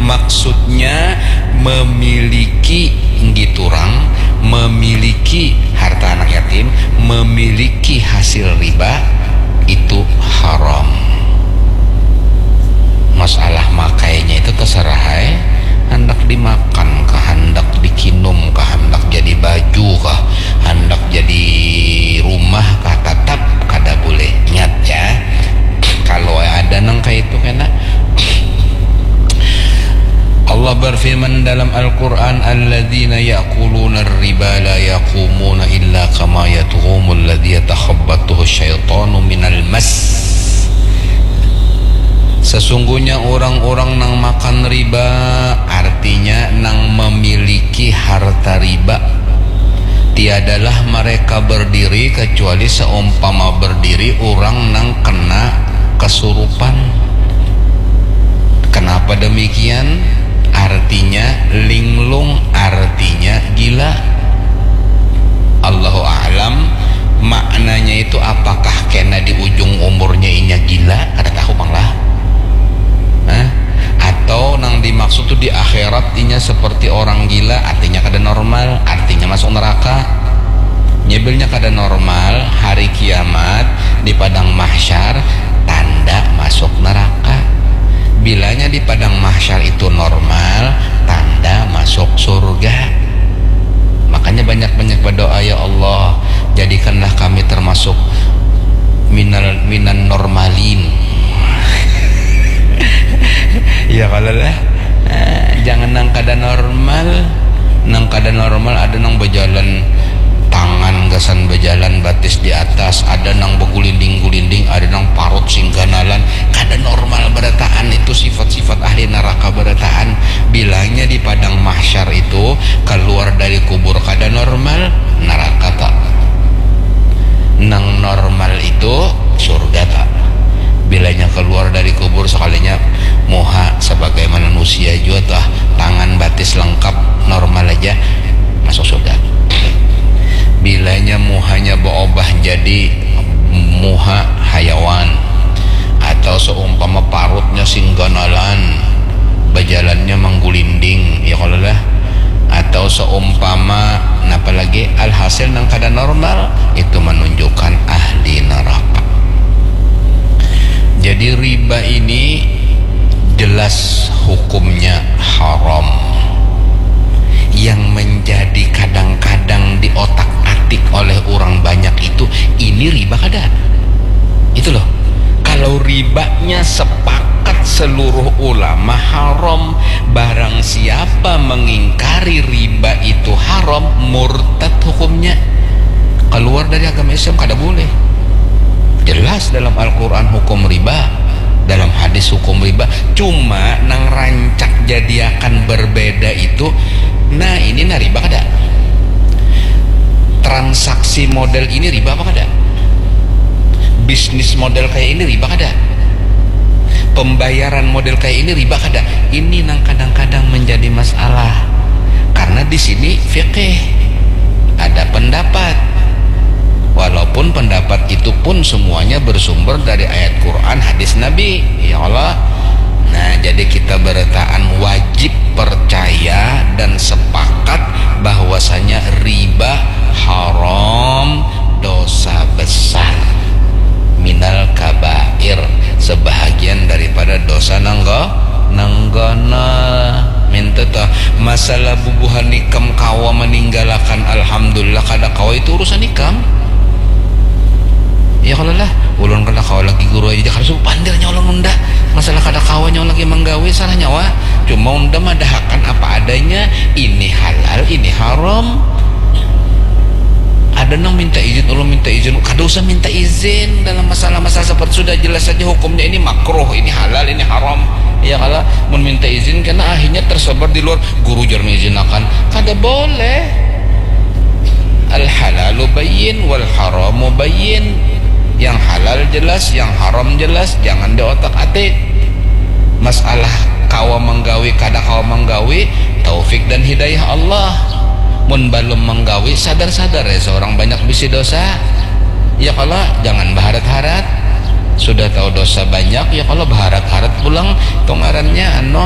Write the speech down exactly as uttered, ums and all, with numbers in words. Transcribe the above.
Maksudnya memiliki ngiturang, memiliki harta anak yatim, memiliki hasil riba itu haram. Masalah makainya itu terserah ai, handak dimakan kah, handak dikinum kah, handak jadi baju kah, handak jadi rumah kah, tetap kada boleh. Ingat ya, kalau ada nang kayak itu kena Allah berfirman dalam Al-Quran, "Alladzina ya'kuluna riba la yaqumuna illa kama yaqumul ladzi yatakhabbathu syaitanu minal mas." Sesungguhnya orang-orang nang makan riba, artinya nang memiliki harta riba, tiadalah mereka berdiri kecuali seumpama berdiri orang nang kena kesurupan. Kenapa demikian? Artinya linglung, artinya gila. Allahu a'lam, maknanya itu apakah kena di ujung umurnya inya gila? Kada tahu pang lah. Hah? Atau nang dimaksud tu di akhirat inya seperti orang gila, artinya kada normal, artinya masuk neraka. Nyebilnya kada normal, hari kiamat di padang mahsyar tanda masuk neraka. Bilanya di padang mahsyar itu normal, tanda masuk surga. Makanya banyak-banyak berdoa, "Ya Allah, jadikanlah kami termasuk minal minan normalin." Ya kalau lah, eh, jangan nang kada normal. Nang kada normal ada nang berjalan tangan gasan berjalan batis di atas, ada nang begulinding-gulinding, ada nang parut singganalan. Kada normal berataan itu, sifat-sifat ahli neraka berataan. Bilanya di padang mahsyar itu keluar dari kubur kada normal, neraka tak. Nang normal itu surga tak. Bilanya keluar dari kubur sekalinya muha sebagai manusia jua tah, tangan batis lengkap normal aja, masuk surga. Bilanya muhanya berubah jadi muha hayawan atau seumpama parutnya singganalan, berjalannya menggulinding, ya kalau lah, atau seumpama napa lagi, alhasil nang kada normal itu menunjukkan ahli neraka. Jadi riba ini jelas hukumnya haram. Yang menjadi kadang-kadang di otak atik oleh orang banyak itu, ini riba kada? Itu loh. Kalau ribanya sepakat seluruh ulama haram, barang siapa mengingkari riba itu haram, murtad hukumnya. Keluar dari agama Islam kada boleh. Jelas dalam Al-Quran hukum riba, dalam hadis hukum riba. Cuma nang rancak jadiakan berbeda itu, nah ini nah riba kada? Transaksi model ini riba apa kada? Bisnis model kayak ini riba kada? Pembayaran model kayak ini riba kada? Ini nang kadang-kadang menjadi masalah. Karena di sini fikih ada pendapat. Walaupun pendapat itu pun semuanya bersumber dari ayat Quran, hadis Nabi. Ya Allah. Nah, jadi kita beretaan wajib percaya dan sepakat bahwasanya riba haram, dosa besar, minal kabair, sebahagian daripada dosa nangga nanggana. Minta tah, masalah bubuhan ikam kawa meninggalakan, alhamdulillah, kada kawa itu urusan ikam. Ya kalau lah, ulun kada kawa lagi guru aja, kada subuh pandirnya ulun unda. Masalah kada kawa nyawa lagi menggawe, salah nyawa. Cuma unda madahakan apa adanya, ini halal, ini haram. Ada nang minta izin, ulun minta izin, kada usah minta izin dalam masalah-masalah seperti sudah jelas saja hukumnya, ini makruh, ini halal, ini haram. Ya kalau mun minta izin kena akhirnya tersebar di luar, guru jar mengizinakan, kada boleh. Al halalu bayyin wal haramu bayyin. Yang halal jelas, yang haram jelas, jangan di otak atik. Masalah kawa menggawi kada kawa menggawi, taufik dan hidayah Allah. Mun balum menggawi, sadar-sadar ya, seorang banyak bisi dosa. Ya kalau jangan baharat-harat. Sudah tahu dosa banyak, ya kalau baharat-harat pulang, itu ngarannya anu,